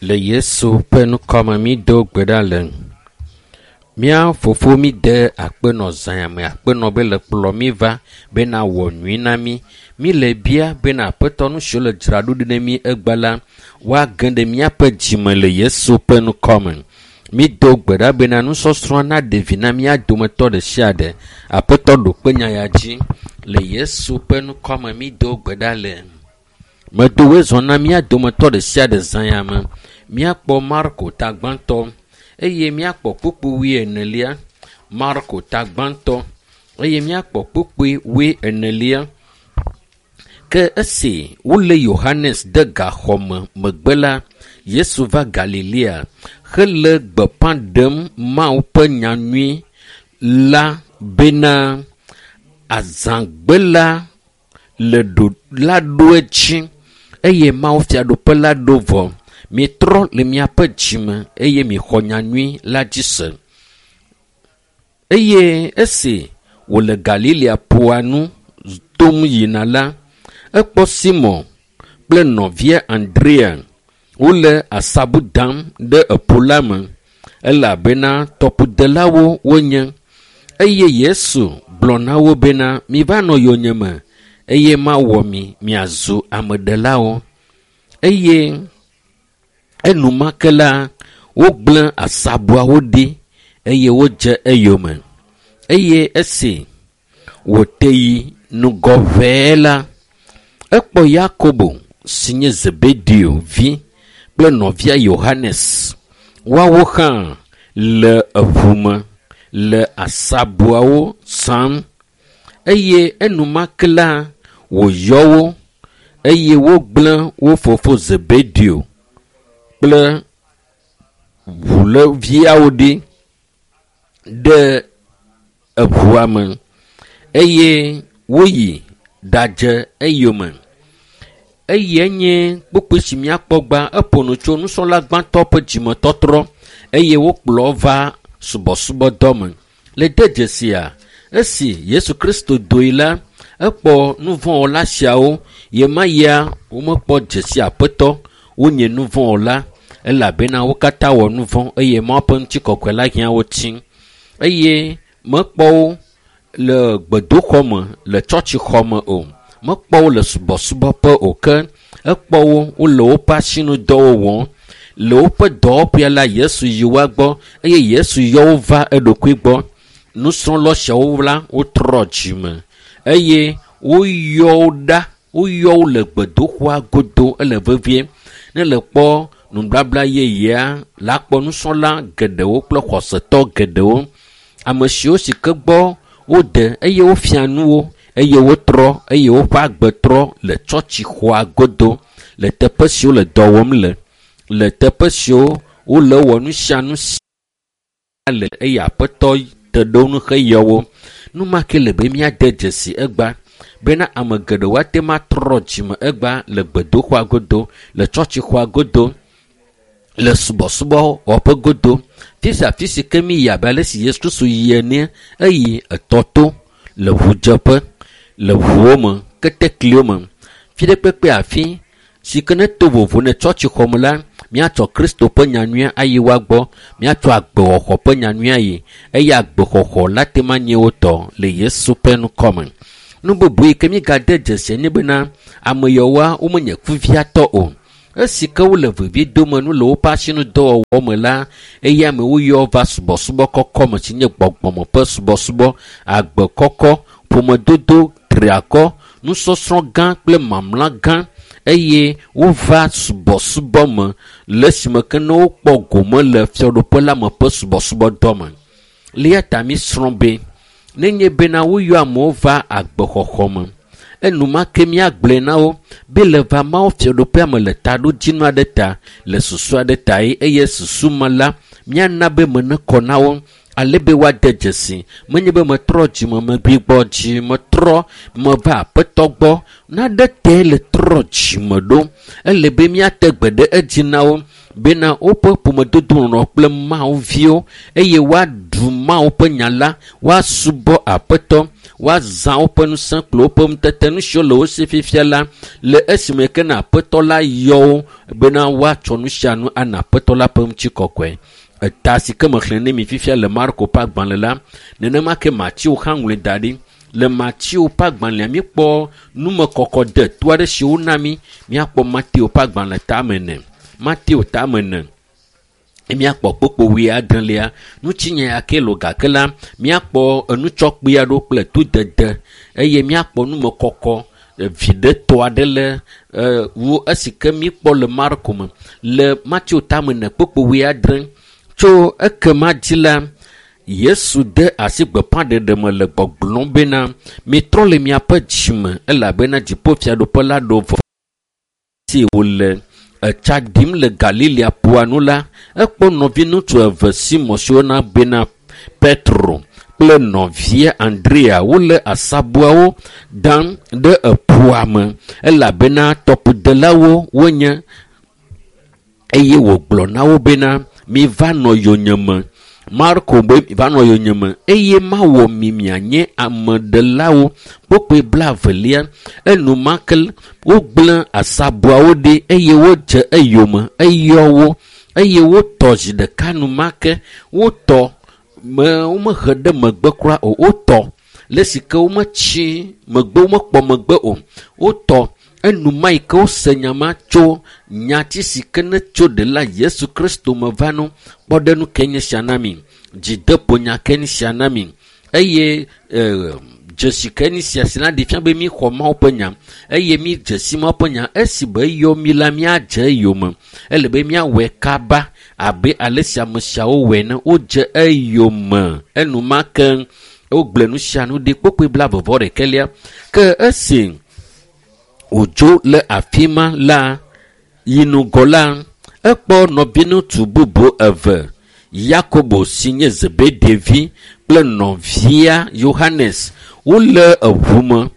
Le Yesu ƒe ŋkɔme mído gbe ɖa le. Mía fofo míde akpenɔ zã me akpenɔ be le kplɔ mí va bena wɔ nyui na mí. Mí le bia bena aƒetɔ nu siwo le dzra ɖo ɖi ne mí egbe la woage ɖe míaƒe dzime le Yesu ƒe ŋkɔme. Mído gbe ɖa bena nusɔsrɔ̃ naɖe vi na mía dometɔ ɖe sia ɖe. Aƒetɔ ɖo kpe nya ya dzi le Yesu ƒe ŋkɔme mído gbe ɖa le. Medo woe zɔ na mía dometɔ ɖe sia ɖe zã ya me. Míakpɔ Marko ta gbãtɔ eye míakpɔ kpukpui wuienelia. Marko ta gbãtɔ eye míakpɔ kpukpui wuienelia. Ke esi wolé Yohanes de gaxɔ me megbe la, Yesu va Galilea hele gbeƒã ɖem Mawu ƒe nyanyui la bena azãgbe la le ɖo la ɖo edzi eye Mawu fiaɖuƒe la ɖo vɔ. Mitrɔ le miaƒe dzime eye mixɔ nyanyui la dzi se. Eye esi wòle Galilea ƒua nu tom yina la, ekpɔ Simon kple nɔvia Andrea wole asabu dam ɖe eƒu la me elabena tɔƒodelawo wonye. Eye Yesu gblɔ na wo bena, miva nɔ yonyeme eye mawɔ mi miazu ameɖelawo. Eye enumake la, wogblẽ asabuawo ɖi eye wodze eyome. Eye esi wòte yi ŋgɔ ʋɛe la, ekpɔ Yakobo si nye Zebedeo vi kple nɔvia Yohanes. Woawo hã le eʋu me le asabuawo sam eye enumake la wòyɔ wo eye wogblẽ wo fofo Zebedeo kple ʋuleviawo ɖi ɖe eʋua me eye woyi ɖadze eyome. Eye nye kpukpui si míakpɔ gbã eƒo nu tso nusrɔ̃la gbãtɔ ƒe dzimetɔtrɔ eye wokplɔ va subɔsubɔdɔ me. Le de dzesia, esi Yesu Kristo doe la, ekpɔ nuvɔ̃wɔla siawo ɣemaɣia womekpɔ dzesi aƒetɔ wonye nuvɔ̃wɔla elabena wo katã wɔ nuvɔ̃ eye Mawu ƒe ŋutikɔkɔe la hiã wo tsi eye mekpɔ wo le gbedoxɔ me le tsɔtsixɔ me o. Mekpɔ wo le subɔsubɔƒe o ke ekpɔ wo wole woƒe asinudɔwo wɔm. Le woƒe dɔwɔƒea la Yesu yi woa gbɔ eye Yesu yɔ wo va eɖokui gbɔ. Nusrɔ̃la siawo la wotrɔ dzime eye woyɔ wo ɖa woyɔ wo le gbedoxɔa godo ele vevie. Ne le kpɔ nubabla yeyea la kpɔ nusrɔ̃la geɖewo kple xɔsetɔ geɖewo. Ame siwo si ke gbɔ wode eye wofia nu wo eye wotrɔ eye woƒe agbe trɔ le tsɔtsixɔa godo le teƒe siwo le dɔ wɔm le le teƒe siwo wole wɔ nu sia nu si le eye aƒetɔ te ɖe wo ŋu heyɔ wo. Nu ma ke le be míade dzesi egba bena ame geɖewo ate ŋu atrɔ dzime egba le gbedoxɔa godo, le tsɔtsixɔa godo, le subɔsubɔwɔƒe godo. Fi sia fi si ke míyi abe ale si Yesu Kristo yi ene, eyi etɔ to le ʋudzeƒe, le ʋuwo me, ketekliwo me. Fi ɖe kpekpe afi si ke ne to vovo ne tsɔtsixɔ me la, míatsɔ Kristo ƒe nyanyuia ayi woa gbɔ, míatsɔ agbewɔxɔ ƒe nyanyuia yi eye agbexɔxɔ la te ma nye wo tɔ le Yesu ƒe ŋkɔme. Nu bubu yi ke míegade dzesi nye bena ame yawoa womenye kuviatɔ o. Esi ke wole vevie dome nu le woƒe asinudɔwɔwɔ me la, eye amewo yɔ va subɔsubɔ kɔkɔ me si nye gbɔgbɔme ƒe subɔsubɔ, agbe kɔkɔ, ƒomedodo triakɔ, nusɔsrɔ̃ gã kple mamla gã eye wova subɔsubɔ me le esime ke ne wokpɔ gome le fiaɖuƒe la me ƒe subɔsubɔdɔ me. Le eya ta mísrɔ̃ be nenye bena woyɔ amewo va agbexɔxɔ me, enumake míagblɔe na wo be le va Mawu fiaɖuƒea me le taɖodzinu aɖe ta, le susu aɖe ta ye eye susu ma la míana be me nekɔ na wo ale be woade dzesi. Menye be metrɔ dzime megbigbɔ dzi metrɔ meva aƒetɔ gbɔ naɖe te le trɔ dzime ɖo. Ele be míate gbe ɖe edzi na wo bena woƒe ƒomedodo nɔnɔ kple Mawu viwo eye woaɖu Mawu ƒe nya la, woasubɔ aƒetɔ, Woazã woƒe ŋusẽ kple woƒe ŋutete, nu siwo le wo si fifia la, le esime ke na Aƒetɔ la yɔ wo bena woatsɔ nu sia nu ana Aƒetɔ la ƒe ŋutikɔkɔe. Eta si ke mexlẽ ne mi fifia le Marko ƒe agbalẽ la, nenema ke Mateo hã ŋlɔe da ɖi. Le Mateo ƒe agbalẽa, míekpɔ numekɔkɔ de to aɖe si wona mí. Míakpɔ Mateo ƒe agbalẽ tame ene. Mateo tame ene. Míakpɔ kpokpo wuiadrelia. Ŋutinya ya ke lo gake la, míakpɔ enutsɔkpui aɖewo kple todede eye míakpɔ numekɔkɔ viɖetɔ aɖe le wu esi ke míkpɔ le Marko me. Le Mateo tame ene kpokpo wuiadre. Tso ekema dzi la, Yesu de asi gbeƒãɖeɖe me le gbɔgblɔm bena, mitrɔ le miaƒe dzime elabena dziƒofiaɖuƒe la ɖo vɔ. Esi wòle etsa ɖim le Galilea ƒua nu la, ekpɔ nɔviŋutsu eve Simɔn si woyɔna bena Petro kple nɔvia Andrea wole asabuawo dam ɖe eƒua me elabena tɔƒodelawo wonye. Eye wògblɔ na wo bena, miva nɔ yonyeme. Marko be va nɔ yonyeme eye mawɔ mi mianye ameɖelawo. Kpokpoe blaevelia. Enumake wogblẽ asabuawo ɖi eye wodze eyome eyɔ wo eye wotɔ zi ɖeka numake. Wotɔ me womehe ɖe megbe kura o. Wotɔ le esi ke wometsi megbe womekpɔ megbe o. Wotɔ enuma yi ke wose nya ma tso nyati si ke ne tso ɖela Yesu Kristo me va nu. Kpɔɖeŋu ke nye sia na mi. Dzideƒonya ke nye sia na mi. Eye dzesi ke nye sia si na ɖi fia be míxɔ Mawu ƒe nya eye mi dzesi Mawu ƒe nya. Esi be eyɔ mi la, míadze eyome. Ele be míawɔe kaba abe ale si ame siawo wɔe ene. Wodze eyome enumake wogblẽ nu sia nu ɖi kpokpoe blaeve-vɔ-ɖekɛlia. Ke esi wòdzo le afi ma la, yi ŋgɔ la, ekpɔ nɔviŋutsu bubu eve, Yakobo si nye Zebedee vi kple nɔvia Yohanes. Wole eʋu me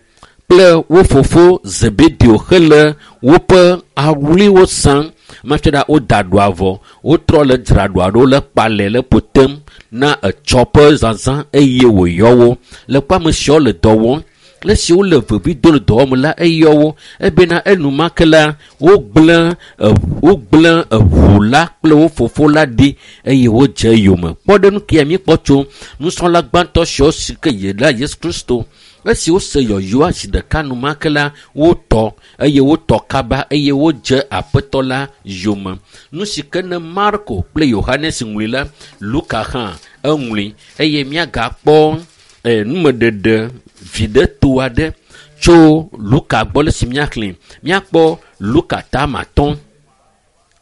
kple wo fofo Zebedeo hele woƒe awuliwo sam. Mafia ɖa woda ɖoa vɔ, wotrɔ le dzra ɖoa ɖo le kpalɛ le ƒo tem na etsɔ ƒe zazã eye wòyɔ wo. Le kpɔ ame siawo le dɔ wɔm. Le esi wole vevi dom le dɔwɔm la, eyɔ wo ebena enumake la, wogblẽ eʋu la kple wo fofo la ɖi eye wodze eyome. Kpɔɖeŋu ke míekpɔ tso nusrɔ̃la gbãtɔ siawo si ke yi la Yesu Kristo. Esi wose yɔyɔa zi ɖeka enumake la, wotɔ eye wotɔ kaba eye wodze Aƒetɔ la yome. Nu si ke ne Marko kple Yohanes ŋlɔe la, Luka hã eŋlɔe eye míagakpɔ numeɖeɖe viɖeto aɖe tso Luka gbɔ le si míaxlẽ. Míakpɔ Luka tame atɔ̃.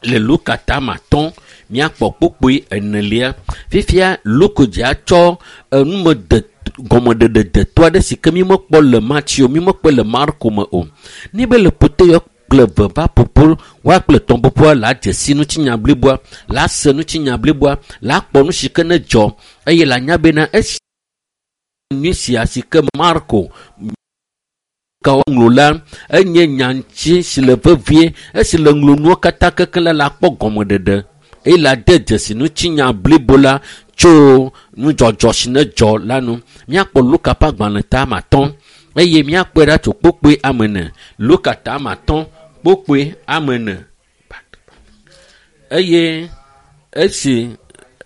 Le Luka tame atɔ̃, míakpɔ kpokpoe enelia. Fifia Luka dze atsɔ enumede gɔmeɖeɖe deto aɖe si ke mímekpɔ le Mateo, mímekpɔ le Marko me o. Ne be le ƒote kple eve va ƒoƒo, woa kple etɔ̃ ƒoƒoa la dze si ŋutinya bliboa, la se ŋutinya bliboa, la kpɔ nu si ke ne dzɔ eye la nya bena esi nyui sia si ke Marko ka ŋlɔ la, enye nyaŋuti si le vevie. Esi le ŋlɔ nuwo katã kekeŋ la, la kpɔ gɔmeɖeɖe eye la de dzesi ŋutinya blibo la tso nudzɔdzɔ si ne dzɔ la nu. Míakpɔ Luka ƒe agbalẽ tame atɔ̃ eye míakpɔe ɖa tso kpokpoe ame ene. Luka tame atɔ̃ kpokpoe ame ene. Eye esi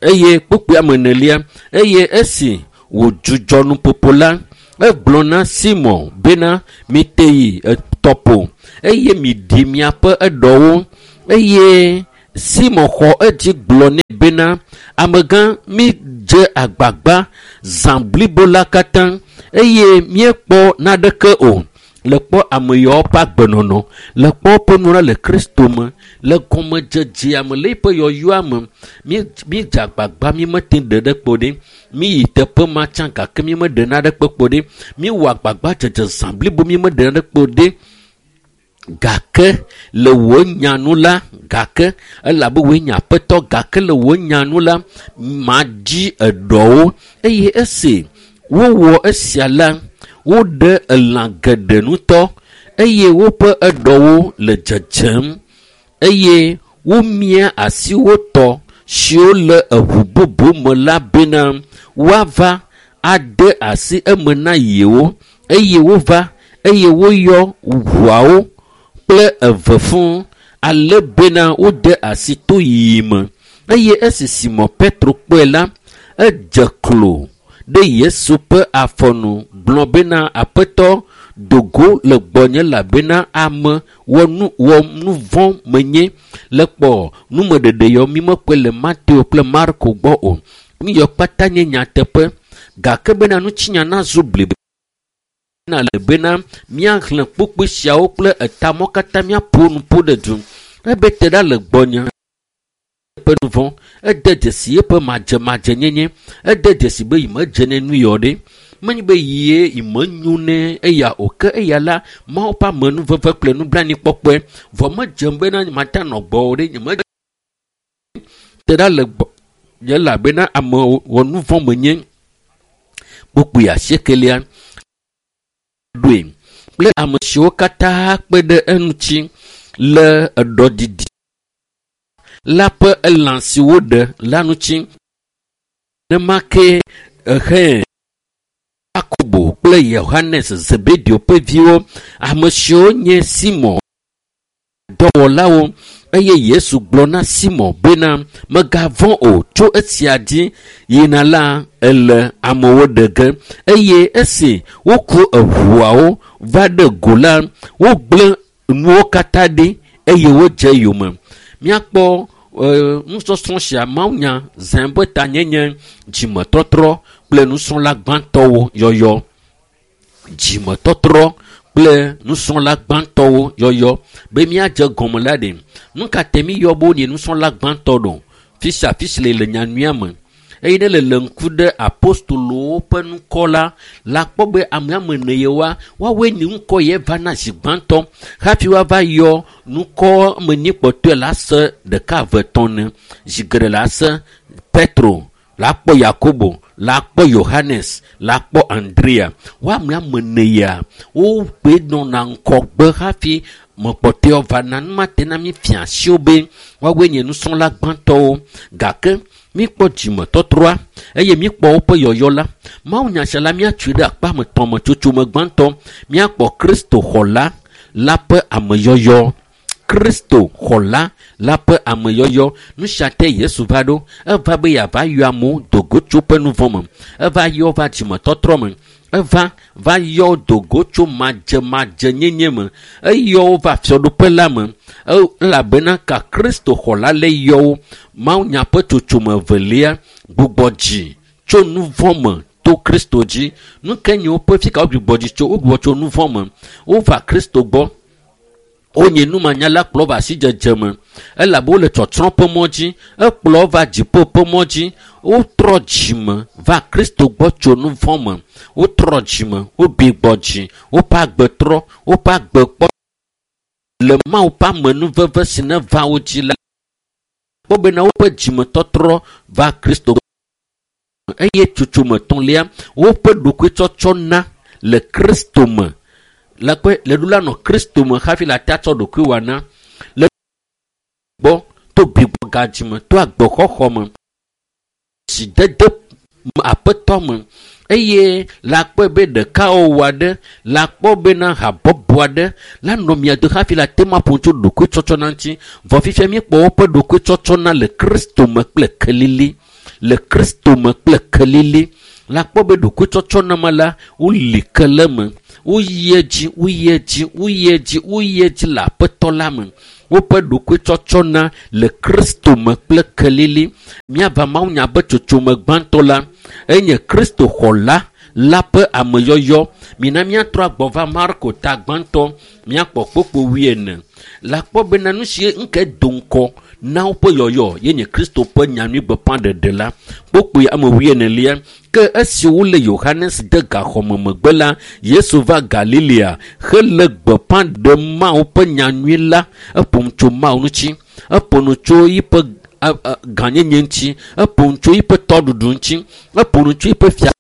eye kpokpoe ame enelia eye esi wòdzudzɔ nuƒoƒo la, egblɔ na Simɔn bena, mite yi tɔƒo eye miɖi miaƒe eɖɔwo. Eye Simɔn xɔ edzi gblɔ nɛ bena, amegã, mídze agbagba zã blibo la katã eye míekpɔ naneke o. Le kpɔ ame yawo ƒe agbenɔnɔ, le kpɔ woƒe nunana le Kristo me, le gɔmedzedzea me, le eƒe yɔyɔa me, mídze agbagba, mímete ɖe ɖe kpo ɖi. Míyi teƒe ma tsã gake mímeɖe naneke kpo ɖi. Míwɔ agbagba dzedze zã blibo, mímeɖe naneke kpo ɖi. Gake le wò nya nu la, gake elabe wòe nye Aƒetɔ, gake le wò nya nu la, madzi eɖɔwo. Eye esi wowɔ esia la, woɖe elã geɖe ŋutɔ eye woƒe eɖɔwo le dzedzem eye womia asi wo tɔ siwo le eʋu bubu me la bena woava ade asi eme na yewo. Eye wova, eye woyɔ ʋuawo kple eve fũu, ale bena wode asi to yiyi me. Eye esi Simɔn Petro kpɔe la, edze klo ɖe Yesu ƒe afɔnu gblɔ bena, Aƒetɔ, do go le gbɔnye elabena ame wɔ nu vɔ̃ menye. Le kpɔ numeɖeɖe yawo mi mekpɔe le Mateo kple Marko gbɔ o. Nu yawo kpata nye nyateƒe. Gake bena ŋutinya nazu blibo le bena míaxlẽ kpukpui siawo kple etamɔ katã míaƒo nu ƒo ɖe du. Ebe te ɖa le gbɔnye ƒe nu vɔ̃. Ede dzesi eƒe madzemadzenyenye. Ede dzesi be yi medze ne nu yɔ ɖe. Menye be yie yi menyo ne eya o ke eya la Mawu ƒe amenuveve kple nublanuikpɔkpɔe. Vɔ medzem bena mate anɔ gbɔwò ɖe nye medze te ɖa le gbɔnye elabena ame wɔ nu vɔ̃ menye. Kpukpui asiekelia ɖoe kple ame siwo katã kpe ɖe eŋuti le eɖɔdidi la ƒe elã si woɖe la ŋuti. Nenema ke ehe Yakobo kple Yohanes Zebedeo ƒe viwo, ame siwo nye Simɔn dɔwɔlawo. Eye Yesu gblɔ na Simɔn bena, mègavɔ̃ o, tso esia dzi yina la ele amewo ɖe ge. Eye esi woku eʋuawo va ɖe go la, wogblẽ nuwo katã ɖi eye wodze yome. Míakpɔ nusɔsrɔ̃ sia mawunya zã be tanyenye dzimetɔtrɔ kple nusrɔ̃la gbãtɔwo yɔyɔ. Dzimetɔtrɔ kple nusrɔ̃la gbãtɔwo yɔyɔ. Be míadze gɔme la ɖe, nu ka te míyɔ be wonye nusrɔ̃la gbãtɔ ɖo? Fi sia fi si le nyanyuia me. Eye ne le ŋku ɖe apostolowo ƒe ŋkɔ la, la kpɔ be ame ene yewoa, woawoe nye ŋkɔ ye va na zi gbãtɔ hafi woava yɔ ŋkɔ me nyi kpɔtɔe la se ɖeka eve etɔ̃ ne. Zi geɖe la se Petro, la kpɔ Yakobo, la kpɔ Yohanes, la kpɔ Andrea. Wo ame ene ya, wogbe nɔna ŋkɔgbe hafi mekpɔtɔewo va na. Nu ma te na mi fia asiwo be woawoe nye nusrɔ̃la gbãtɔwo. Gake míkpɔ dzimetɔtrɔa eye míkpɔ woƒe yɔyɔ la. Mawunya sia la míatsoe ɖe akpa me tɔ̃ me tsotso me gbãtɔ. Míakpɔ Kristo xɔla la ƒe ameyɔyɔ. Kristo xɔla la ƒe ameyɔyɔ. Nu sia te Yesu va ɖo. Eva be yeava yɔ amewo do go tso woƒe nu vɔ̃ me. Eva yɔ va dzimetɔtrɔ me. Eva va yɔ do go tso madzemadzenyenye me. Eyɔ wo va fiaɖuƒe la me. Elabena ka Kristo xɔla le yɔ wo. Mawunya ƒe tsotsome evelia gbugbɔ dzi tso nu vɔ̃ me to Kristo dzi. Nu ke nye woƒe fi ka wogbugbɔ dzi tso? Wogbugbɔ tso nu vɔ̃ me. Wova Kristo gbɔ. Wonye numanyala kplɔ va asidzedze me elabe wole tsɔtsrɔ̃ ƒe mɔ dzi. Ekplɔ va dziƒo ƒe mɔ dzi. Wotrɔ dzime va Kristo gbɔ tso nu vɔ̃ me. Wotrɔ dzime, wobi gbɔ dzi, woƒe agbe trɔ, woƒe agbe kpɔ le Mawu ƒe amenuveve si ne va wo dzi la. Kpɔ bena woƒe dzimetɔtrɔ va Kristo gbɔ. Eye tsotsome etɔ̃lia, woƒe ɖokuitsɔtsɔ na le Kristo me. Le kpe le ɖo la nɔ Kristo me hafi la te atsɔ ɖokui wɔna le gbɔ to bigbɔ dzime to agbexɔxɔ me dzidede aƒetɔ me eye la kpɔe be ɖekawɔwɔ aɖe la kpɔ bena habɔbɔ aɖe la nɔ mia do hafi la te ma ƒo tso ɖokuitsɔtsɔ na ŋuti. Vɔ fifia míekpɔ woƒe ɖokuitsɔtsɔ na le Kristo me kple kelili. Le Kristo me kple kelili. La kpɔ be ɖokuitsɔtsɔ na ma la woli ke le me. Woyi edzi, woyi edzi, woyi edzi, woyi edzi le aƒetɔ la me. Woƒe ɖokuitsɔtsɔ na le Kristo me kple kelili. Míava mawunya be tsotsome gbãtɔ la enye Kristo xɔla la ƒe ameyɔyɔ. Mina míatrɔ agbɔ va Marko ta gbãtɔ, míakpɔ kpokpo wuiene. La kpɔ bena nu si ŋke do ŋkɔ na woƒe yɔyɔ ye nye Kristo ƒe nyanyuigbeƒãɖeɖe la. Kpokpoe ame wuienelia. Ke esi wole Yohanes de gaxɔme megbe la, Yesu va Galilea hele gbeƒã ɖem Mawu ƒe nyanyui la. Eƒo nu tso Mawu ŋuti, eƒo nu tso yiƒe gãnyenye ŋuti, eƒo nu tso yiƒe tɔɖuɖu ŋuti, eƒo nu tso yiƒe fia,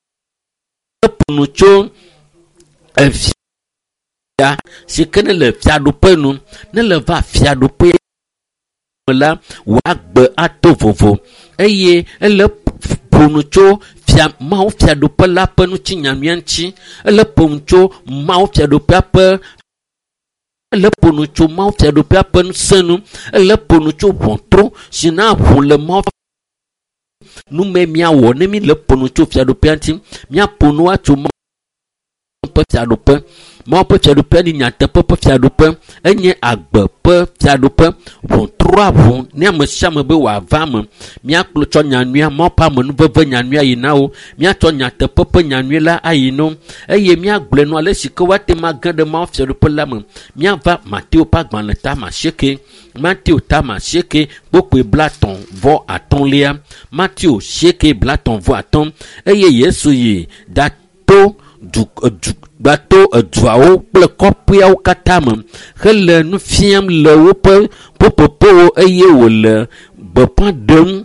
eƒo nu tso efia si ke ne le fiaɖuƒe nu. Ne le va fiaɖuƒe me la, wòagbe ato vovo eye ele ƒo nu tso fia Mawu fiaɖuƒe la ƒe ŋutinyanyuia ŋuti. Ele ƒo nu tso Mawu fiaɖuƒea ƒe ele ƒo nu tso Mawu fiaɖuƒea ƒe ŋusẽ nu. Ele ƒo nu tso ʋɔtru si na ʋu le Mawu nu me míawɔ ne mi le ƒo nu tso fiaɖuƒea ŋuti. Míaƒo nu atso Mawu ƒe fiaɖuƒe. Mawu ƒe fiaɖuƒea nye nyateƒe ƒe fiaɖuƒe. Enye agbe ƒe fiaɖuƒe. Ʋɔtrua ʋu ne ame sia ame be wòava eme. Míakplɔ tsɔ nyanyuia, Mawu ƒe amenuveve nyanyuia yi na wo. Míatsɔ nyateƒe ƒe nyanyui la ayi na wo. Eye míagblɔe nu ale si ke woate ŋu age ɖe Mawu fiaɖuƒe la me. Míava Mateo ƒe agbalẽ tame asieke. Mateo tame asieke kpokpoe 35. Mateo 8 35. Eye Yesu yi ɖato du du gbato eduawo kple kɔƒeawo katã me hele nu fiam le woƒe ƒuƒoƒowo eye wòle gbeƒã ɖem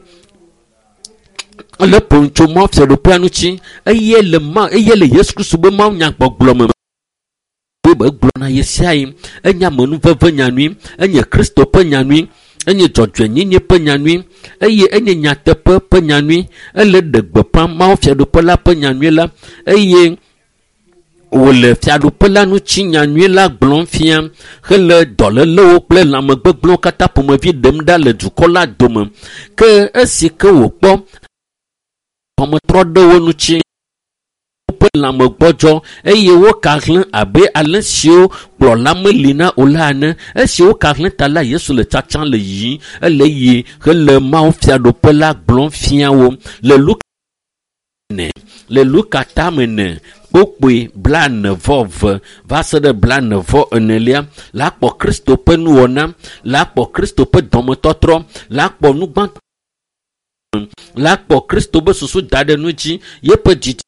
ele ƒo nu tso Mawu fiaɖuƒea ŋuti eye le ma eye le Yesu Kristo be Mawu nyagbɔgblɔ me be egblɔna ɣe sia ɣi enye amenuveve nyanyui, enye Kristo ƒe nyanyui, enye dzɔdzɔenyenye ƒe nyanyui eye enye nyateƒe ƒe nyanyui. Ele ɖe gbeƒã Mawu fiaɖuƒe la ƒe nyanyui la eye wòle fiaɖuƒe la ŋuti nyanyui la gblɔm fia hele dɔlélewo kple lãmegbegblẽwo katã ƒomevi ɖem ɖa le dukɔ la dome. Ke esi ke wòkpɔ xɔmetrɔ ɖe wo ŋuti woƒe lãme gbɔdzɔ eye woka hlẽ abe ale siwo kplɔla meli na o la ene. Esi woka hlẽ ta la, Yesu le tsatsam le yiyim, ele yi hele Mawu fiaɖuƒe la gblɔm fia wo. Le Luka ne le Luka tame ene kpokpoe 42 va se ɖe 44 la kpɔ Kristo ƒe nuwɔna, la kpɔ Kristo ƒe dɔmetɔtrɔ, la kpɔ nugbã, la kpɔ Kristo ƒe susu da ɖe nu dzi, yeƒe dzidzi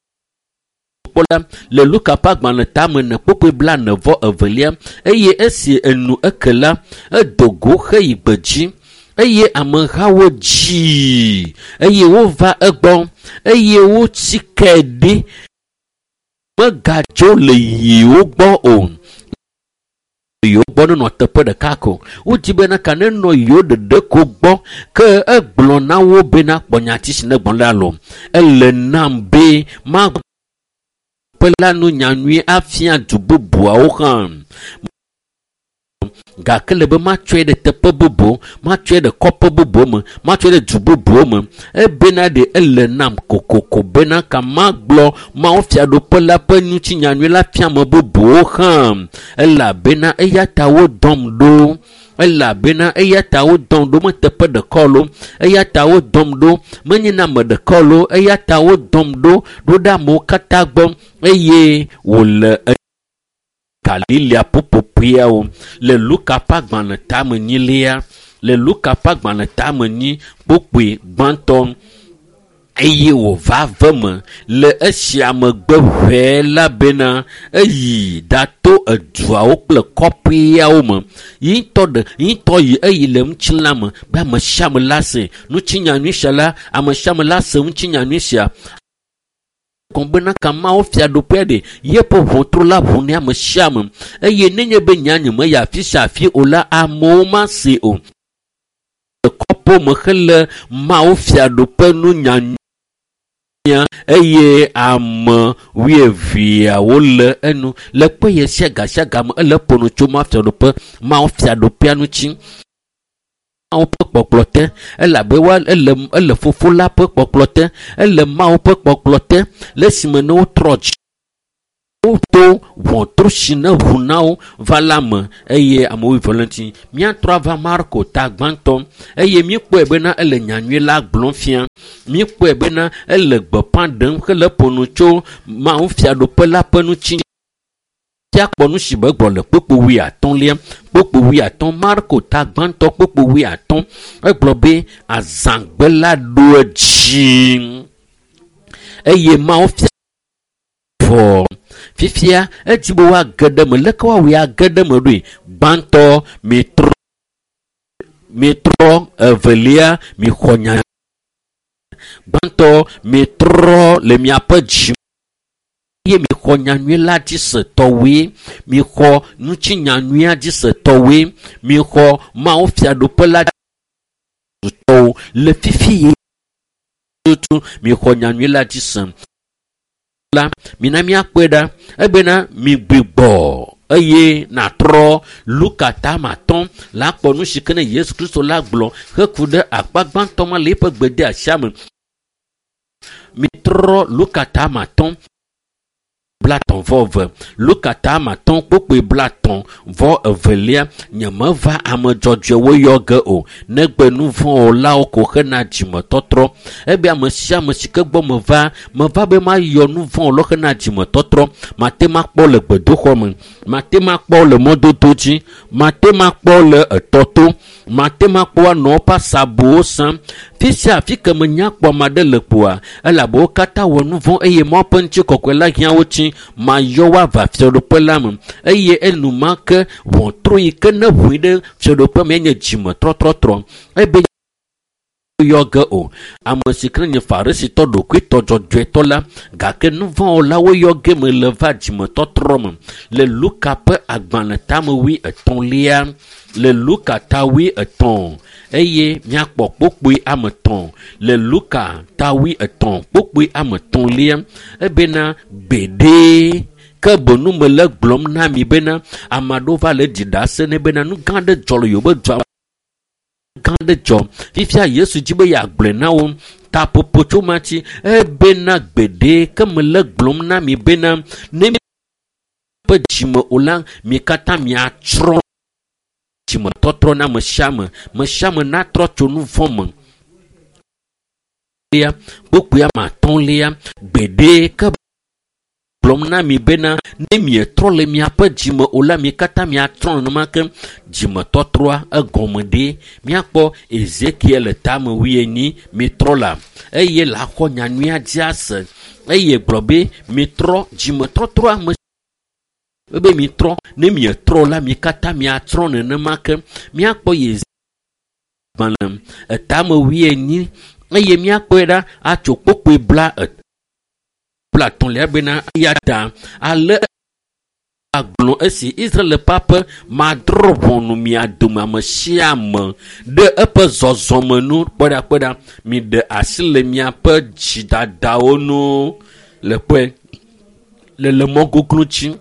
kpɔ la le Luka ƒe agbalẽ tame ene kpokpoe 42 eye esi enu eke la, edo go heyi gbedzi eye amehawo dzii eye wova egbɔ eye wotsi ke ɖi megadzo le yewo gbɔ o. Yewo gbɔ nenɔ teƒe ɖeka ko. Wodi bena ka nenɔ yewo ɖeɖe ko gbɔ. Ke egblɔ na wo bena kpɔ nyati si ne gblɔ la lo. Ele nam be maƒe la nu nyanyui afia du bubuawo hã. Gake le be matsɔe ɖe teƒe bubu, matsɔe ɖe kɔƒe bubu me, matsɔe ɖe du bubuwo me. Ebena ɖe ele nam kokoko bena ka magblɔ Mawu fiaɖuƒe la ƒe ŋutinyanyui la fia ame bubuwo hã. Elabena eya ta wodɔm ɖo. Elabena eya ta wodɔm ɖo meteƒe ɖeka o. Eya ta wodɔm ɖo menye na ame ɖeka o. Eya ta wodɔm ɖo ɖo ɖe amewo katã gbɔ eye wòle Galilea ƒuƒoƒeawo le Luka ƒe agbalẽ tame enyilia le Luka ƒe agbalẽ tame enyi kpokpoe gbãtɔ eye wòva ve me le esia megbe ʋɛe la bena eyi ɖato eduawo kple kɔƒeawo me. Yi ŋutɔ ɖe yi ŋutɔ yi eyi le ŋutilã me be ame sia ame la se ŋutinyanyui sia la ame sia ame la se ŋutinyanyui sia. Gɔme bena ka Mawu fiaɖuƒea ɖe yeƒe ʋɔtru la ʋu ne ame sia ame eye nenye be nya nye meyi afi sia afi o la amewo mase o. Le kɔƒewo me hele Mawu fiaɖuƒe nu nyanyuia eye ame wuieveawo le enu le kpe ɣe sia ga sia game ele ƒo nu tso Mawu fiaɖuƒe Mawu fiaɖuƒea ŋuti. Mawu ƒe kpɔkplɔ te elabe wa ele ele fofo la ƒe kpɔkplɔ te ele Mawu ƒe kpɔkplɔ te le esime ne wotrɔ dzi woto ʋɔtru si ne ʋu na wo va la me eye ame wuieve le ŋuti. Míatrɔ ava Marko ta gbãtɔ eye míekpɔe bena ele nyanyui la gblɔm fia. Míekpɔe bena ele gbeƒã ɖem hele ƒo nu tso Mawu fiaɖuƒe la ƒe ŋuti. Míakpɔ nu si be gblɔ le kpokpo 50 kpokpo 50 Marko ta gbãtɔ kpokpo 50 egblɔ be azãgbe la ɖo edzi eye Mawu fia vɔ. Fifia edzi be woage ɖe eme. Leke woawɔe age ɖe eme ɖoe? Gbãtɔ mitrɔ mitrɔ evelia mixɔ nya. Gbãtɔ mitrɔ le miaƒe dzi eye mixɔ nyanyui la dzi se tɔwoe. Mixɔ ŋutinyanyuia dzi se tɔwoe. Mixɔ Mawu fiaɖuƒe la tɔwo le fifi ye. Tutu mixɔ nyanyui la dzi se la mina míakpɔe ɖa ebena migbigbɔ eye nàtrɔ. Luka tama tɔn la kpɔ nu si ke ne Yesu Kristo la gblɔ heku ɖe akpa gbãtɔ ma le eƒe gbedeasia me. Mitrɔ Luka tama tɔn 30/2. Luka tama tɔn kpokpoe 32. Nyemeva ame dzɔdzɔewo yɔ ge o, negbe nu vɔ̃wɔlawo ko hena dzimetɔtrɔ. Ebe ame sia ame si ke gbɔ meva, meva be mayɔ nu vɔ̃wɔlawo hena dzimetɔtrɔ. Mate makpɔ le gbedoxɔ me, mate makpɔ le mɔdodo dzi, mate makpɔ le etɔto, mate makpɔ anɔ woƒe asabuwo sam. Fi sia afi ke menya kpɔ ame aɖe le kpoa, elabe wo katã wɔ nu vɔ̃ eye Mawu ƒe ŋutikɔkɔe la hiã wo tsi. Mayɔ wo ava fiaɖuƒe la me eye enumake ʋɔtru yi ke ne ʋui ɖe fiaɖuƒe me nye dzimetrɔtrɔtrɔ. Ebe yɔ ge o. Ame si ke nye Farisitɔ ɖokuitɔ dzɔdzɔetɔ la, gake nu vɔ̃wɔlawo yɔ ge me le va dzimetɔtrɔ me. Le Luka ƒe agbalẽ tame 23, le Luka ta 23 eye míakpɔ kpokpoe ame 3. Le Luka ta 23 kpokpoe ame 3 ebena gbeɖe ke bonu me le gblɔm na mi bena ame aɖewo va le ɖi ɖase ne bena nu gã aɖe dzɔ le yewoƒe dua gã aɖe dzɔ. Fifia Yesu dzi be yeagblɔe na wo taƒoƒo tso ma tsi ebena gbeɖe ke me le gblɔm na mi bena ne miaƒe dzime o la, mi katã miatsrɔ̃. Dzimetɔtrɔ na ame sia ame, ame sia ame natrɔ tso nu vɔ̃ me. Kpokpoe ame atɔ̃lia, gbeɖe ke gblɔm na mi bena ne mietrɔ le miaƒe dzime o la, mi katã miatrɔ nenema ke. Dzimetɔtrɔa egɔme ɖe míakpɔ Ezekiel tame 40 mitrɔ la eye la xɔ nyanyuia dzi ase eye gblɔ be mitrɔ. Dzimetɔtrɔa me ebe mitrɔ, ne mietrɔ la mi katã miatrɔ nenema ke. Míakpɔ Yezagbalẽ etame 40 eye míakpɔe ɖa atso kpokpoe 33 bena eya ta ale agblɔ esi Israel ƒe aƒe madrɔ̃ ʋɔnu mia dome ame sia ame ɖe eƒe zɔzɔme nu. Kpɔɖakpɔɖa miɖe asi le miaƒe dzidadawo nu le kpɔe le mɔ goglo dzi.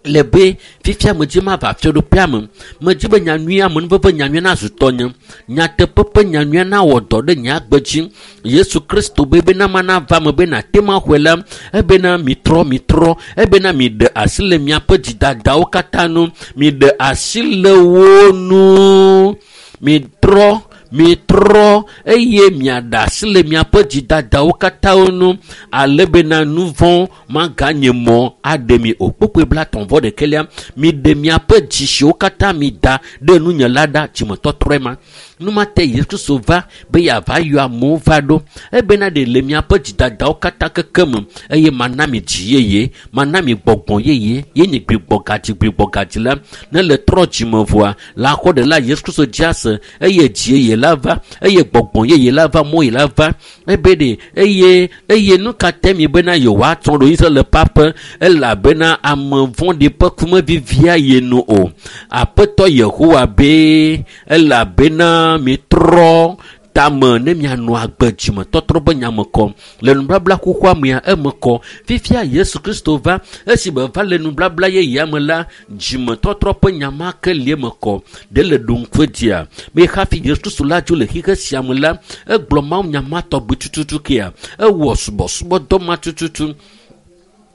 Le be fifia medzi mava fiaɖuƒea me, medzi be nyanyuia amenuveve nyanyuia nazu tɔnye, nyateƒe ƒe nyanyuia nawɔ dɔ ɖe nye agbe dzi. Yesu Kristo be bena mana va me be nate maxɔe la, ebena mitrɔ mitrɔ, ebena miɖe asi le miaƒe dzidadawo katã nu, miɖe asi le wo nu, mitrɔ mitrɔ eye miaɖe asi le miaƒe dzidadawo katã nu, ale bena nu vɔ̃ maganye mɔ aɖe mi o. Kpokpoe 31, miɖe miaƒe dzi siwo katã mida ɖe nunye la ɖa. Dzimetɔtrɔe ma. Numate Yesu Kristo va be yeava yɔ amewo va ɖo ebena ɖe le miaƒe dzidadawo katã keke me eye mana mi dzi yeye, mana mi gbɔgbɔ yeye, ye nye gbigbɔgadzi gbigbɔgadzi la. Ne le trɔ dzime vɔa, la xɔ ɖe la Yesu Kristo dzi ase eye dzi yeye la va, eye gbɔgbɔ yeye la va, mɔ yeye la va. Ebe ɖe eye eye nu ka te mi bena yewoatsɔ ɖo Israel ƒe aƒe, elabena ame vɔ̃ɖi ƒe kumevivia ye nu o. Aƒetɔ Yehowa be elabena mitrɔ tame ne mianɔ agbe dzimetɔtrɔ be nyame kɔ le nubabla xoxoa mea eme kɔ. Fifia Yesu Kristo va, esi be va le nubabla yeyea me la, dzimetɔtrɔ ƒe nya ma ke li eme kɔ. Ɖe le ɖo ŋku dzia be hafi Yesu Kristo la dzo le xixe sia me la, egblɔ Mawu nya ma tɔgbi tututu kea, ewɔ subɔsubɔdɔ ma tututu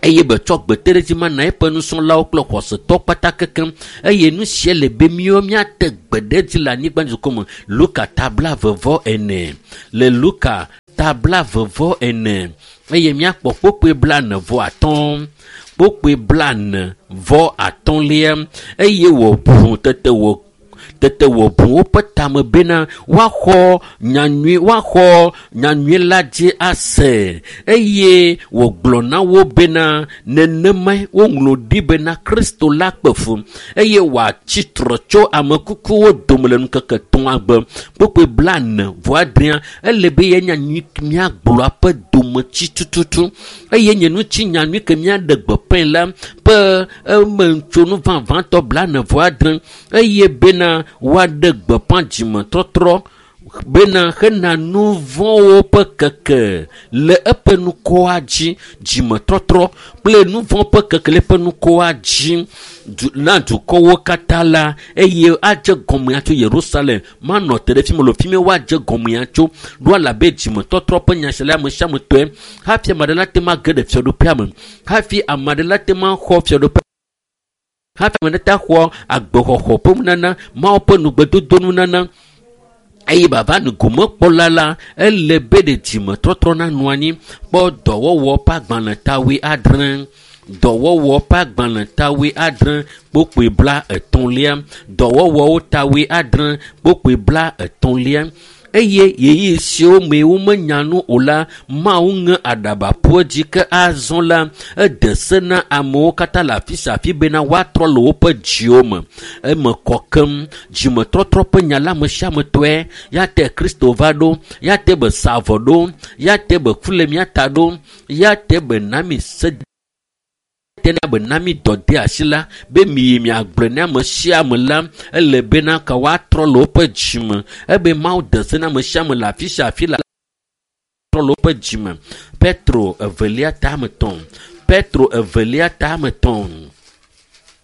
eye be tsɔ gbeteɖedzi ma na eƒe nusrɔ̃lawo kple xɔsetɔ kpata kekem. Eye nu sia le be míawo míate gbe ɖe edzi le anyigba dukɔ me. Luka ta 44, le Luka ta 44 eye míakpɔ kpokpoe 45, kpokpoe 45 eye wòʋu tete wò tete wòbu woƒe tame bena woaxɔ nyanyui, woaxɔ nyanyui la dzi ase. Eye wògblɔ na wo bena nenemae woŋlɔ ɖi bena Kristo la kpe fu eye wòatsi trɔ tso ame kukuwo dome le ŋkeke etɔ̃a gbe. Kpokpoe 46, ele be ye nyanyui míagblɔa ƒe dometsi tututu eye nye ŋuti nyanyui ke míaɖe gbeƒãe la ƒe emetsonu vavãtɔ 46 eye bena woaɖe gbeƒã dzimetɔtrɔ Bena hena nu vɔ̃wo ƒe keke le eƒe nukɔa dzi, dzimetɔtrɔ kple nu vɔ̃ ƒe keke le eƒe nukɔa dzi du, na dukɔwo katã la, eye adze gɔmea tso Yerusalem. Manɔ te ɖe fi me lo, fi mi woadze gɔmea tso. Ɖo alabe dzimetɔtrɔ ƒe nya sia le ame sia ame tɔe. Hafi ame aɖe la te ma ge ɖe fiaɖuƒea me. Hafi ame aɖe la te ma xɔ fiaɖuƒe. Hafi ame aɖe ta xɔ agbexɔxɔ ƒe nunana, Mawu ƒe nugbedodo nunana. Eye bava nu gomekpɔla la, ele be ɖe dzimetɔtrɔ nanɔ anyi. Kpɔ dɔwɔwɔ ƒe agbalẽ tawoe adre. Dɔwɔwɔ ƒe agbalẽ tawoe adre kpokpoe bla etɔ̃lia. Dɔwɔwɔwo tawoe adre kpokpoe bla etɔ̃lia. Eye ɣeyiɣi siwo me womenya nu o la, Mawu ŋe aɖaba ƒu edzi ke azɔ la, ede se na amewo katã le afi sia afi bena woatrɔ le woƒe dziwo me. Eme kɔ keŋ. Dzimetɔtrɔ ƒe nya la ame sia ame tɔe. Ya te Kristo va ɖo, ya te be sa avɔ ɖo, ya te be ku le mía ta ɖo, ya te be na mi se tena be na mi dɔ de asi la, be mi yi miagblɔe na ame sia ame la, ele bena ka woatrɔ le woƒe dzime. Ebe Mawu de se na ame sia ame le afi sia afi la trɔ le woƒe dzime. Petro evelia tame tɔ̃. Petro evelia tame tɔ̃.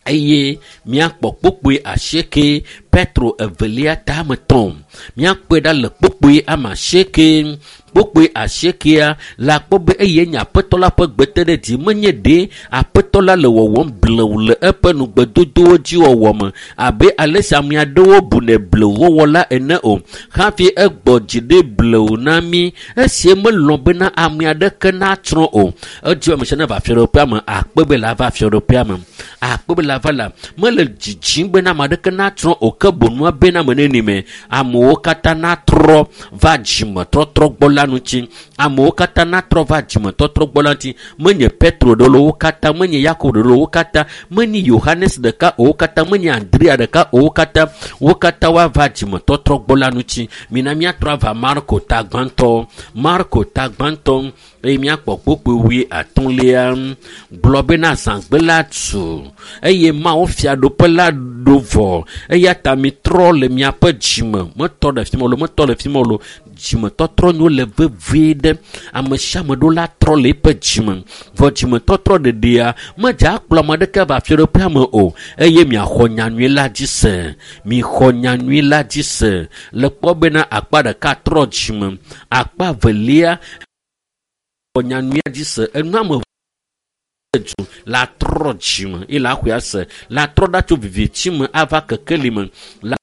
Eye míakpɔ kpokpoe asieke. Petro evelia tame tɔ̃. Míakpɔe ɖa le kpokpoe ame asieke. Kpokpoe asiekea la kpɔ be eye nye aƒetɔ la ƒe gbete ɖe dzi. Menye ɖe aƒetɔ la le wɔwɔm blewu le eƒe nugbedodowo dzi wɔwɔ me abe ale si ame aɖewo bunɛ blewuwɔwɔ la ene o. Hafi egbɔ dzi ɖe blewu na mí esi melɔ̃ bena ame aɖeke natsrɔ̃ o. Edzi ame sia neva fiaɖuƒea me, akpe be la va fiaɖuƒea me. Akpe be la va la, mele dzidzim bena ame aɖeke natsrɔ̃ o, ke bonua bena ame neni me amewo katã natrɔ va dzimetɔtrɔ gbɔ la ŋuti. Amewo katã natrɔ va dzimetɔtrɔ gbɔ la ŋuti. Menye Petro ɖe wo katã, menye Yakobo ɖe wo katã, menye Yohanes ɖeka o wo katã, menye Andrea ɖeka o wo katã, wo katã woava dzimetɔtrɔ gbɔ la ŋuti. Mina míatrɔ ava Marko ta gbãtɔ. Marko ta gbãtɔ eye míakpɔ kpokpoe wui atɔ̃lia. Gblɔ bena zãgbe la tu eye Mawu fiaɖuƒe la ɖo vɔ. Eya ta mitrɔ le miaƒe dzime. Metɔ ɖe fi ma o, metɔ ɖe fi ma o. Dzimetɔtrɔ nyo le vevie ɖe. Ame sia ame ɖo la trɔ le eƒe dzime. Vɔ dzimetɔtrɔ ɖeɖea medze akplɔ ame aɖeke va fiaɖuƒea me o. Eye miaxɔ nyanyui la dzi se. Mixɔ nyanyui la dzi se. Le kpɔ bena akpa ɖeka trɔ dzime, akpa velia xɔ nyanyuia dzi se. Enu ame du la trɔ dzime eye la xɔe ase. La trɔ ɖa tso viviti me ava kekeli me. La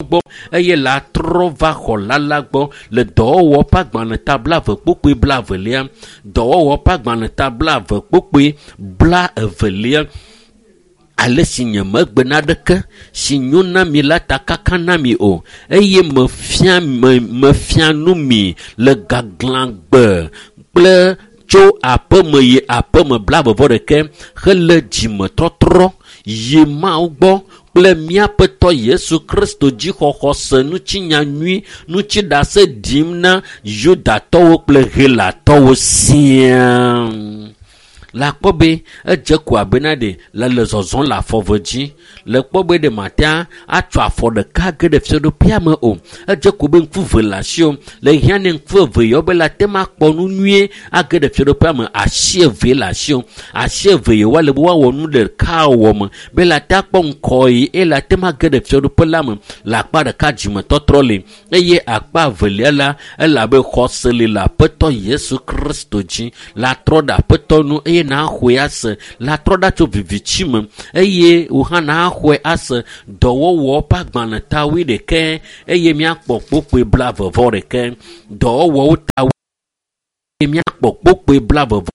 gbɔ eye la trɔ va xɔla la gbɔ le dɔwɔwɔ ƒe agbalẽ ta blaeve kpokpoe blaevelia. Dɔwɔwɔ ƒe agbalẽ ta blaeve kpokpoe blaevelia. Ale si nye megbe naɖeke si nyo na mi la ta kaka na mi o, eye mefia mefia nu mi le gaglãgbe kple tso aƒeme yi aƒeme blaeve vɔ ɖeke hele dzimetɔtrɔ yi Mawu gbɔ kple míaƒe tɔ Yesu Kristo dzixɔxɔ se ŋuti nyanyui ŋuti ɖase ɖim na Yudatɔwo kple Helatɔwo siaa. La kpɔ be edze ko abena ɖe le le zɔzɔm le afɔve dzi. Le kpɔ be ɖe matea atsɔ afɔ ɖeka ge ɖe fiaɖuƒea me o. Edze ko be ŋku ve le asiwò. Le hiã ne ŋku eve yɔ be la te ma kpɔ nu nyuie age ɖe fiaɖuƒea me. Asi eve le asiwò. Asi eve yi woale be woawɔ nu ɖeka wɔ me be la te akpɔ ŋkɔ yi eye la te ma ge ɖe fiaɖuƒe la me. Le akpa ɖeka dzimetɔtrɔ li eye akpa evelia la elabe xɔse li le Aƒetɔ Yesu Kristo dzi. La trɔ ɖe Aƒetɔ nu eye naxɔe ase. La trɔ ɖa tso viviti me eye wò hã naxɔe ase. Dɔwɔwɔ ƒe agbalẽ ta wuiɖekɛ eye míakpɔ kpokpoe blaeve vɔ ɖeke. Dɔwɔwɔwo ta eye míakpɔ kpokpoe blaeve vɔ.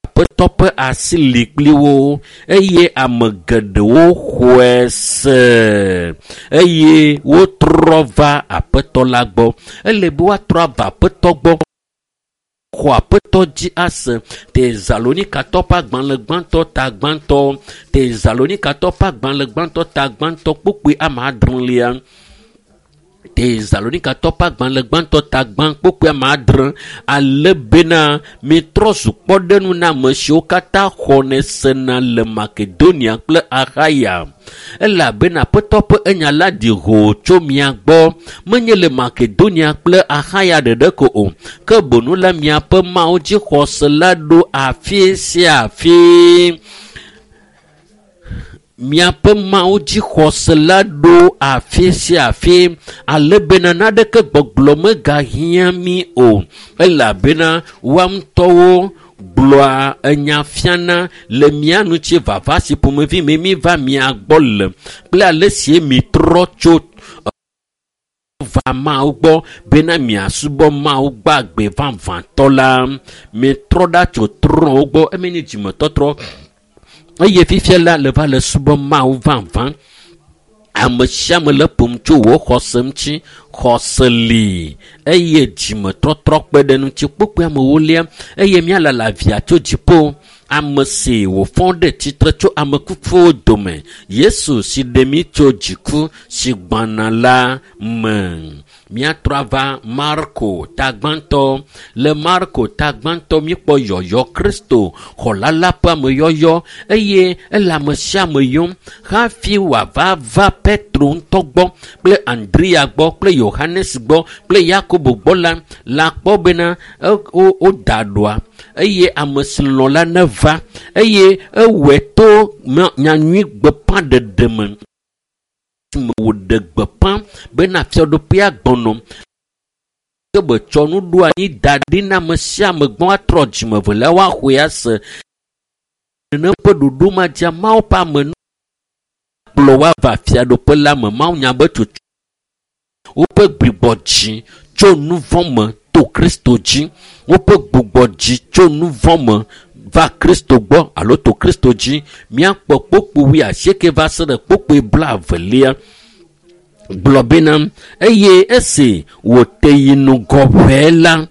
Aƒetɔ ƒe asi li kpli wo eye ame geɖewo xɔe se eye wotrɔ va Aƒetɔ la gbɔ. Ele be woatrɔ ava Aƒetɔ gbɔ. Xɔ Aƒetɔ dzi ase. Tesalonikatɔ ƒe agbalẽ gbãtɔ ta gbãtɔ. Tesalonikatɔ ƒe agbalẽ gbãtɔ ta gbãtɔ kpokpoe ame adrelia. Tesalonikatɔ ƒe agbalẽ gbãtɔ ta gbã kpokpoe ame adre ale bena mitrɔ zu kpɔɖeŋu na ame siwo katã xɔnɛ sena le Makedonia kple Axaya. Elabena Aƒetɔ ƒe enya la ɖi hoo tso mia gbɔ, menye le Makedonia kple Axaya ɖeɖe ko o, ke boŋ la miaƒe Mawu dzixɔse la ɖo afi sia afi. Miaƒe Mawu dzixɔse la ɖo afi sia afi ale bena naneke gbɔgblɔ megahiã mí o, elabena woa ŋutɔwo gblɔa enya fiana le mía ŋuti vava si ƒomevi me mi va mia gbɔ le kple ale si mitrɔ tso va Mawu gbɔ bena miasubɔ Mawu gbagbe vavãtɔ la. Mitrɔ ɖa tso trɔ̃wo gbɔ, eme nye dzimetɔtrɔ eye fifia la le va le subɔ Mawu vavã. Ame sia ame le ƒom tso wò xɔse ŋuti. Xɔse li eye dzimetɔtrɔ kpe ɖe ŋuti. Kpokpoe amewo lia eye míalala via tso dziƒo. Ame si wòfɔ ɖe tsitre tso ame kukuwo dome, Yesu si ɖe mí tso dziku si gbɔna la me. Míatrɔ ava Marko ta gbãtɔ. Le Marko ta gbãtɔ míekpɔ yɔyɔ Kristo xɔla la ƒe ameyɔyɔ eye ele ame sia ame yɔm hafi wòava va Petro ŋutɔ gbɔ kple Andrea gbɔ kple Yohanes gbɔ kple Yakobo gbɔ la, la kpɔ bena woda ɖoa eye ame si lɔ̃ la neva eye ewɔe to nyanyui gbeƒãɖeɖe me. Me wòɖe gbeƒã bena fiaɖuƒea gbɔnɔ. Ke be tsɔ nuɖoanyi da ɖi na ame sia ame gbɔ atrɔ dzime velia woaxɔe ase. Nene ƒe ɖoɖo ma dzia Mawu ƒe ame kplɔ woava fiaɖuƒe la me. Mawu nya be tsotso woƒe gbugbɔ dzi tso nu vɔ̃ me to Kristo dzi. Woƒe gbugbɔ dzi tso nu vɔ̃ me va Kristo gbɔ alo to Kristo dzi. Míakpɔ kpokpo wuiasieke va se ɖe kpokpoe blaevelia. Gblɔ bena eye esi wòte yi ŋgɔ ʋɛe la,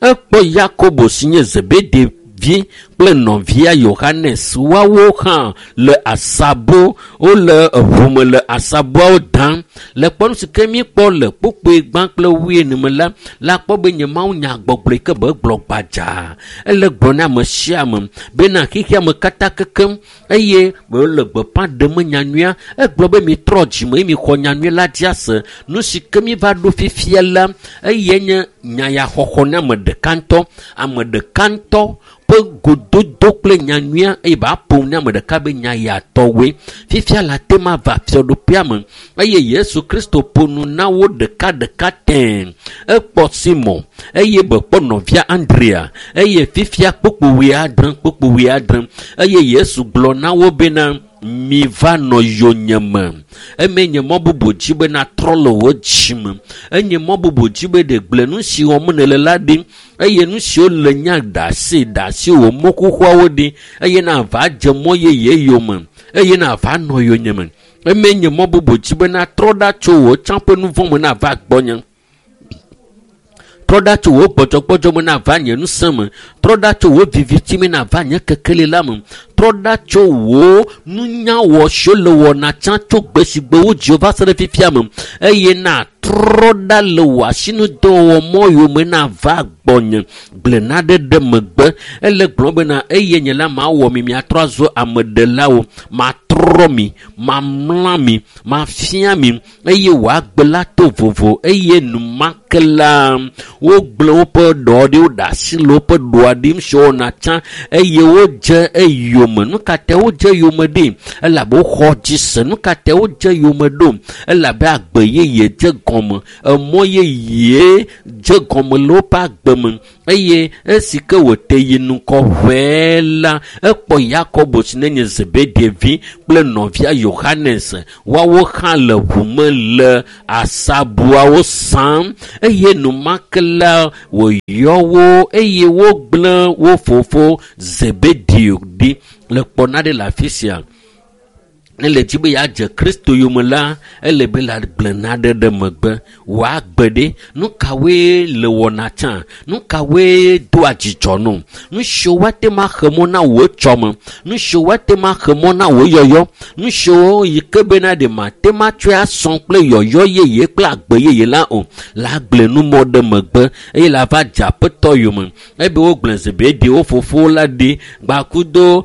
ekpɔ Yakobo si nye Zebede vi kple nɔvia Yohanes. Woawo hã le asabo, wole eʋu me le asaboawo dam. Le kpɔɖeŋu si ke míekpɔ le kpokpoe gbã kple wuiene me la, la kpɔ be nye Mawu nya gbɔgblɔe ke be egblɔ gbadzaa. Ele gblɔ na ame sia ame bena xexea me katã kekem eye wòle gbeƒã ɖem nyanyuia. Egblɔ be mitrɔ dzime eye mixɔ nyanyui la dzi ase. Nu si ke míva ɖo fifia la, eye nye nyayaxɔxɔ na ame ɖeka ŋutɔ. Ame ɖeka ŋutɔ ƒe gododo kple nyanyuia eye ba ƒom na ame ɖeka be nyayatɔwoe. Fifia la te ma va fiaɖuƒea me eye Yesu Kristo ƒo nu na wo ɖeka ɖeka tẽe. Ekpɔ Simon eye be kpɔ nɔvia Andrea eye fifia kpokpo wuiadre eye Yesu gblɔ na wo bena miva nɔ yonyeme. Eme nye mɔ bubu dzi be natrɔ le wò dzime. Enye mɔ bubu dzi be ɖe gblẽ nu si wɔm nèle la ɖi eye nu siwo le nya ɖe asi wò mɔ xoxoawo ɖi eye nava dze mɔ yeye yome eye nava nɔ yonyeme. Eme nye mɔ bubu dzi be natrɔ ɖa tso wò tsã ƒe nu vɔ̃ me nava gbɔnye. Trɔ ɖa tso wò gbɔdzɔgbɔdzɔ me nava nye ŋusẽ me. Trɔ ɖa tso wò viviti me nava nye kekeli la me. Trɔ ɖa tso wò nunyawɔ siwo le wɔna tsã tso gbe si gbe wodzi wo va se ɖe fifia me eye natrɔ ɖa le wò asinudɔwɔwɔ mɔ yome nava gbɔnye. Gblẽ naɖe ɖe megbe. Ele gblɔm bena eye nye la mawɔ mi miatrɔ azu ameɖelawo. Matrɔ mi, mamla mi, mafia mi eye wòagbe la to vovo eye enumake la wogblẽ woƒe ɖɔ ɖi, woɖe asi le woƒe ɖɔa ɖim si wowɔna tsã eye wodze eyome. Nu ka ta wodze eyome ɖi? Elabe woxɔ dzi se. Nu ka ta wodze eyome ɖo? Elabe agbe yeye dze gɔme, emɔ yeye dze gɔme le woƒe agbe me eye esi ke wòte yi ŋgɔ ʋɛe la, ekpɔ Yakobo si nenye Zebede vi kple nɔvia Yohanes. Woawo hã le ʋu me le asabuawo sam eye enumake la wòyɔ wo eye wogblẽ wo fofo Zebedeo ɖi. Le kpɔ naɖe le afi sia. Ne le dzi be yeadze Kristo yome la, ele be la gblẽ naɖe ɖe megbe. Wòagbe ɖe. Nu kawoe le wɔna tsã? Nu kawoe doa dzidzɔ nɔ? Nu siwo woate ŋu axe mɔ na wò etsɔme. Nu siwo woate ŋu axe mɔ na wò yɔyɔ. Nu siwo yi ke bena ɖe mate ŋu atsɔe asɔ kple yɔyɔ yeye kple agbe yeye la o. La gblẽ nu mɔ ɖe megbe eye la va dze aƒetɔ yome. Ebe wogblẽ Zebedi wo fofowo la ɖi gbakudo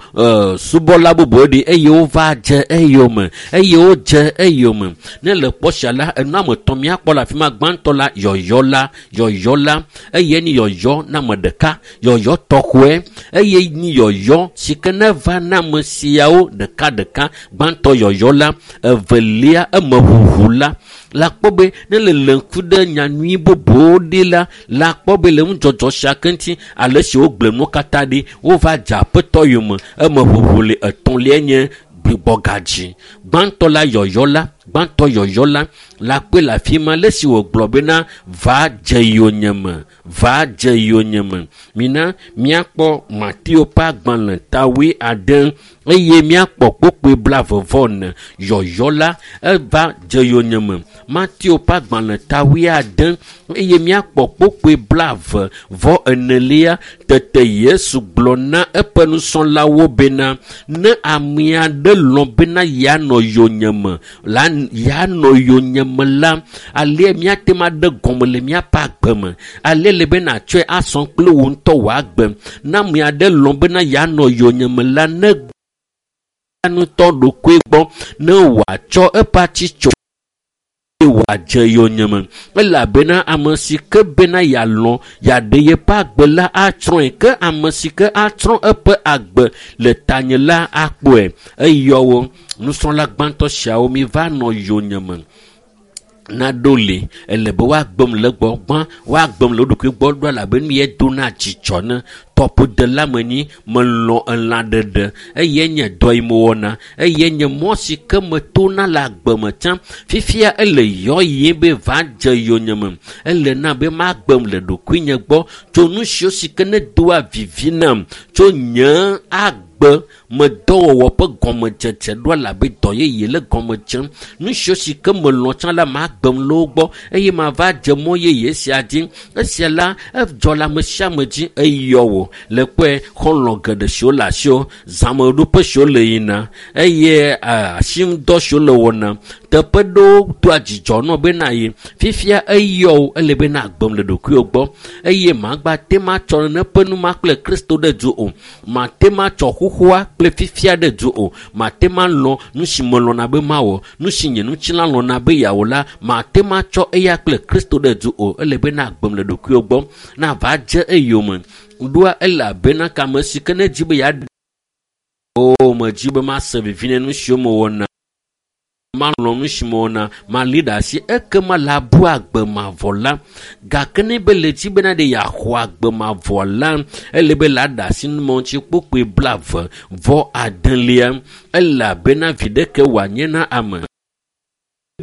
subɔla bubuwo ɖi eye wova dze eyome eye wodze eyome. Ne le kpɔ sia la, enu ame etɔ̃ míakpɔ le afi ma. Gbãtɔ la, yɔyɔ la, yɔyɔ la eye ni yɔyɔ na ame ɖeka, yɔyɔ tɔxɔe eye ni yɔyɔ si ke ne va na ame siawo ɖeka ɖeka. Gbãtɔ yɔyɔ la, evelia emeʋuʋu la. La kpɔ be ne le le ŋku ɖe nyanyui bubuwo ɖi la, la kpɔ be le nudzɔdzɔ sia ke ŋuti ale si wogblẽ nuwo katã ɖi, wova dze aƒetɔ yome. Emeʋuʋu le etɔ̃lia nye gbugbɔgadzi. Gbãtɔ la yɔyɔ la, gbãtɔ yɔyɔ la, la kpɔe le afi ma le si wògblɔ bena va dze yonyeme, va dze yonyeme. Mina míakpɔ Mateo ƒe agbalẽ ta 9 eye míakpɔ kpukpui 24. Yɔyɔ la eva dze yonyeme. Mateo ƒe agbalẽ ta 9 eye míakpɔ kpukpui 24. Tete Yesu gblɔ na eƒe nusrɔ̃lawo bena ne ame aɖe lɔ̃ bena yeanɔ yonyeme la, yeanɔ yonyeme la, alia míate ŋu aɖe gɔme le míaƒe agbe me. Ale le be nàtsɔe asɔ kple wò ŋutɔ wò agbe. Ne ame aɖe lɔ̃ bena yeanɔ yonyeme la, ne ŋutɔ ɖokui gbɔ ne wòatsɔ eƒe atitso wòadze yonyeme. Elabena ame si ke bena yealɔ̃ yeaɖe yeƒe agbe la atsrɔ̃e, ke ame si ke atsrɔ̃ eƒe agbe le tanye la akpɔe. Eyɔ wo nusrɔ̃la gbãtɔ siawo mi va nɔ yonyeme. Naɖo li ele be woagbem le gbɔ gbã, woagbem le wo ɖokui gbɔ ɖo elabe nu ye dona dzidzɔ ne tɔƒodela menyi, melɔ̃ elã ɖeɖe eye nye dɔ yi mewɔna eye nye mɔ si ke metona le agbe me tsã. Fifia ele yɔ yie be va dze yonyeme. Ele na be magbem le ɖokuinye gbɔ tso nu siwo si ke ne doa vivi nam tso nye agbe me dɔwɔwɔ ƒe gɔmedzedze ɖo elabe dɔ yeye le gɔme dzem. Nu siwo si ke melɔ̃ tsã la magbem le wo gbɔ eye mava dze mɔ yeye sia dzi. Esia la edzɔ le ame sia ame dzi eyɔ wò le kpɔe xɔlɔ̃ geɖe siwo le asiwò, zãmeɖoƒe siwo le yina eye asiŋudɔ siwo le wɔna. Teƒe ɖewo doa dzidzɔ nɔ be na yi. Fifia eyɔ wò ele be na gbem le ɖokuiwò gbɔ eye magba te ma tsɔ nene ƒe nu ma kple Kristo ɖe du o. Mate ma tsɔ xoxoa kple fifia ɖe du o. Mate ma lɔ̃ nu si melɔ̃na be mawɔ, nu si nye ŋutilã lɔ̃na be yeawɔ la, mate ma tsɔ eya kple Kristo ɖe du o. Ele be na gbem le ɖokuiwò gbɔ na va dze eyome. Ɖoa elabena kame si ke ne dzi be yeaɖe o medzi be mase vivi ne nu siwo mewɔna, malɔ̃ nu si mewɔna, mali ɖe asi ekema la bu agbe mavɔ la. Gake ne be le dzi bena ɖe yeaxɔ agbe mavɔ la, ele be la ɖe asi numɔ ŋuti kpukpui 29 elabena vi ɖeke wòanye na ame.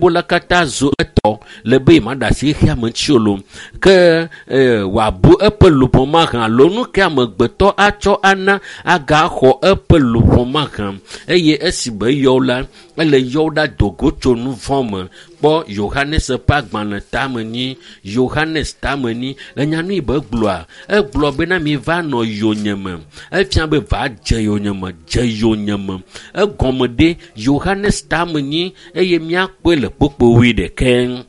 Bola katã zu etɔ le be maɖe asi xexea me ŋuti o lo. Ke wòabu eƒe luʋɔ mahã alo nu ke amegbetɔ atsɔ ana agaxɔ eƒe luʋɔ mahã. Eye esi be yɔ la, ele yɔ ɖa do go tso nu vɔ̃ me. Kpɔ Yohanes ƒe agbalẽ tamenyi, Yohanes tamenyi. Le nyanu yi be gblɔa, egblɔ bena mi va nɔ yonyeme. Efia be va dze yonyeme, dze yonyeme. Egɔme ɖe Yohanes tamenyi eye míakpɔe le kpukpui 21.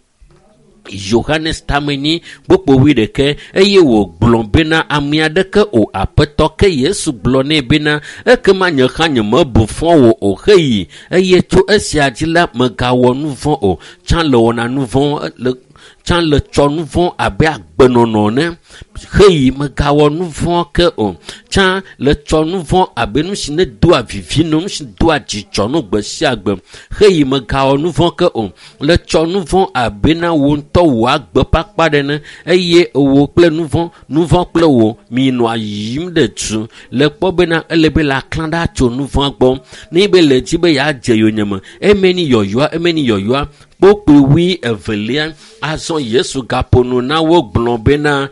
Yohanes tamenyi kpukpui 21 eye wògblɔ bena ame aɖeke o aƒetɔ. Ke Yesu gblɔ nɛ bena ekema nye hã nyemebu fɔ wò o heyi eye tso esia dzi la megawɔ nu vɔ̃ o. Tsã le wɔna nu vɔ̃ le tsã le tsɔ nu vɔ̃ abe agbenɔnɔ ne heyi megawɔ nu vɔ̃ ke o. Tsã le tsɔ nu vɔ̃ abe nu si ne doa vivi no, nu si doa dzidzɔ no gbe sia gbe heyi megawɔ nu vɔ̃ ke o. Le tsɔ nu vɔ̃ abe na wò ŋutɔ wò agbe ƒe akpa ɖe ne eye wò kple nu vɔ̃, nu vɔ̃ kple wò minɔa yiyim ɖe du. Le kpɔ bena ele be la klã ɖa tso nu vɔ̃ gbɔ. Ne be le dzi be yeadze yonyeme, eme ni yɔyɔa, eme ni yɔyɔa. Kpukpui 22. Azɔ Yesu gaƒo nu na wo gblɔ bena